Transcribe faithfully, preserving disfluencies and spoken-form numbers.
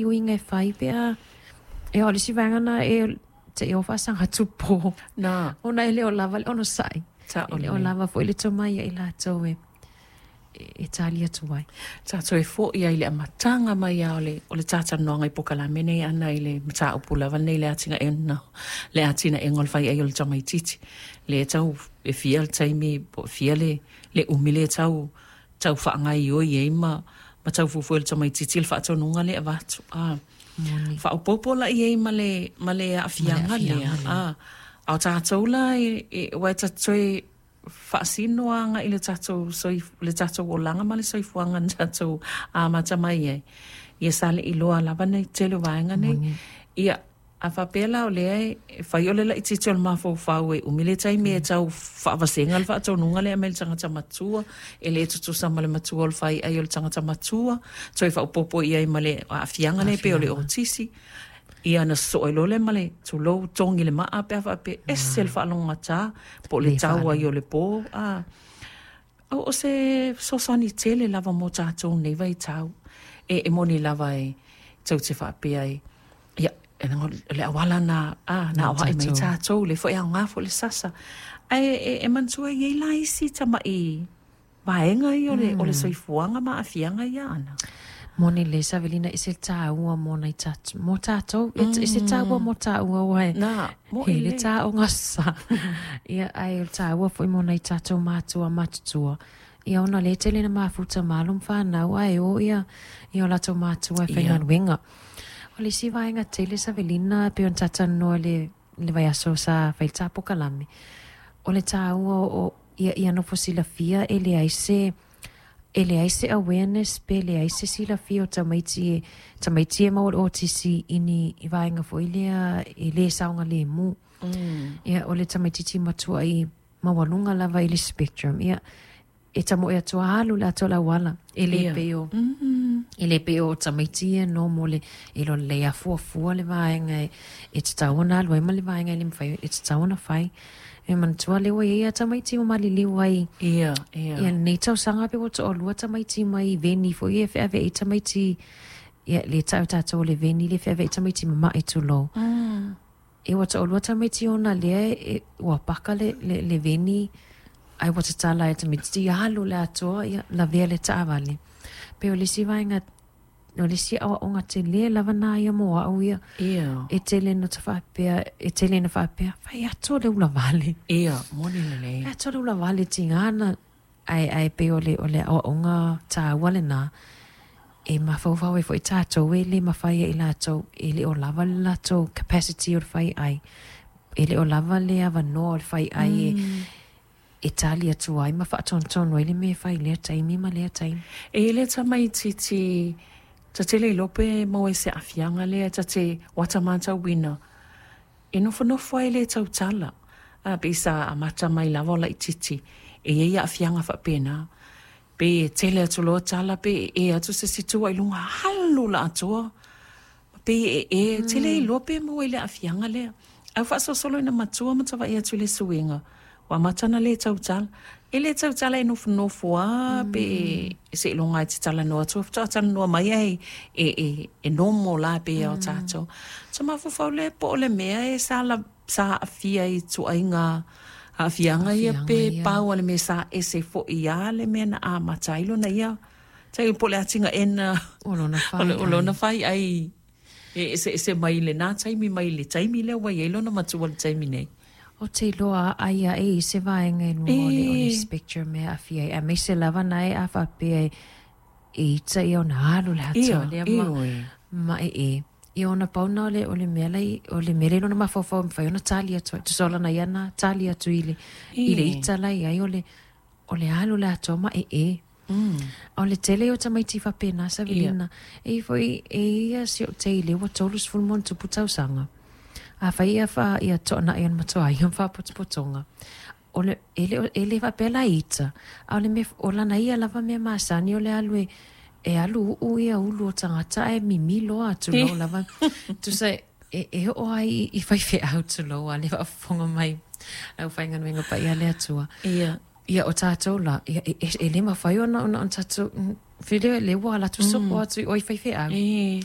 Uiga e fai pe a e o le isi vaega lena e seia oo faasagatupō Na. Ona e le o lava le onosai, Sao e le o lelei. Lava foi le tomai ia i latou e e tali atu ai. Tatou e fo'i ai i le amataga mai a o le o le talatalanoaga i pokalame nei ana i le mataupu lava lenei le atinaega le atinaega o le faiai o le tamaititi lea tau e fia le taimi po o fia le le umi lea tau tau faagaioi ai ma ma tau fuafua e le tamaititi le faatonuga lea e avatu a Moni. Faaopoopo la i ai ma le ma le Ma le aafiaga lea aafiaga lea. A a o tatou la e e aua e tatou te toe faasino agai i le tatou soif le tatou olaga ma le soifuaga na tatou amata mai ai ia sa le iloa lava nei tele o vaega nei. Moni. Ia a faapea la o lea e fai o le laitiiti o le mafaufau e umi le taimi e tau faavasega le faatonuga lea mai le tagata matua e lē tutusa ma le matua o le faiai o le tagata matua toe faaopoopo i ai ma le aafiaga lea pei o le Aafiaga. Otisi ia na sosoo ai loa lea ma le tulou togi le maa pe a faapea ese le faalogogata po o le Le tau ai faalogo. O le pō a o o se fesoasoani tele lava mo tatou nei vaitau e e moni lava e tou te faapea ai ia e le auala na a na Na aoai mai tatou. Tatou le foi aoga foi le sasa ae e, e manatua e i ai la isi tama'i vaega ia o le o le soifuaga ma aafiaga ia ana. Moni le Savelina, e se tāua mo nai tātou, mo tātou, e e se tāua mo tāua ua e Na mo'i he le lelei. Tāoga sa. Ia ai o le tāua foi mo nai tātou mātua matutua. Ia ona le tele na mafuta malo ma whanau ai o ia i o latou mātua e Ia. Whaigaluega. O le isi vaega tele Savelina e pei ona talatalanoa le le vaiaso sa fai le tapokalame. O le tāua o ia ia nofo silafia e leai se e leai se awareness pe leai se silafia o tamaiti e tamaiti e maua le otisi i ni i vaega foi lea e lē saogalemu. Mm. Ia o le tamaititi matua i maualuga lava i le spectrum ia e tamoe atu alu le atoa le auala e lē Ia. Pei o Mm. e lē pei o tamaiti ia normal e lo lelei afuafua le vaega e e tatau ona alu ai ma le vaega e le mafai e tatau ona fai. E manatua lea ua iai a tamaiti ua maliliu ai Ia, ia. ia lenei tausaga pe ua toalua tamaiti mai veni foi e feaveai tamaiti ia le ta'u tatou o le veni le feaveai tamaiti mama'i tulou. Mm. E ua toalua tamaiti ona lea e ua paka le, le, le veni ai ua tatala e tamaiti alu le atoa ia lavea le taavale. Pe o le isi vaega o le isi aoaoga telē lava na ia mo a'u ia Ia. e tele na ta faapea e tele na faapea fai atoa le ulavale. Ia, moni lelei. Fai atoa le ulavale tigā na ae ae pei o le o le aoaoga tāua lenā e mafaufau ai foi tatou e lē mafai ai latou e le o lava le latou capacity o le fai ai e le o lava le avanoa o le fai ai e Mm. E tali atu ai ma faatonutonu ai le mea e fai i lea taimi ma lea taimi. E le tamaititi ta te le iloa pe maua i se aafiaga lea ta te uata matauina e nofonofo ai le tautala a pe sa amata mai lava o laititi e iai aafiaga faapena pe e tele atu loa tala pe e e atu se situa i luga alu la atoa pe e e tele iloa pe maua i le aafiaga lea au faasolosolo ina matua ma tava'i atu i le suiga ua amata na lē tautala e lē tautala e nofonofo a pe seiloga e te talanoa atu faatoa talanoa mai ai e e e nomo la pe ia o tatou sa mafaufau le po o le mea e sa la sa aafia i tuaiga aafiaga ia Aafiaga pe ia. Pau o le mea sa ese fo'i a le mea na amata ai lona ia tai po o le atigaʻena O lona o le- fai o lona ai. Fai ai e eseese mai lenā taimi mai le taimi lea ua iai lona matua i le taimi nei. O te iloa ai aʻe i se vaega i luga o le o le E spectrum e aafia ai aemaise lava na e a faapea e e ita ia ona alu le Ia atoa lea ma ioe. Ma e e ia ona pau na o le o le mea lai o le mea lea i lona mafaufau e mafai ona tali atu ai tusa o lana ia na tali atu i le i le E ita la i ai o le o le alu le atoa ma e e Mm. O le tele o tamaiti faapena Ia. Savelina e i foi e ia si o teile ua tolu sefulu ma ona tupu tausaga a fai ia fa ia toʻanaʻi ona matuai ma faapotopotoga o le e le e le faapea la ita a o le mea o lana ia lava mea masani o le alu e e alu u'u ia ulu o tagata ae mimilo atu lou lava tusa e e oo ai i, i faifeau tulou a le faafofoga mai lau faigaluega paia le Atua. Ia. Ia o tatou la ia e, e, e le mafai ona ona ona tatou fele le ua ala atu soko Mm. atu i oi faifeau. E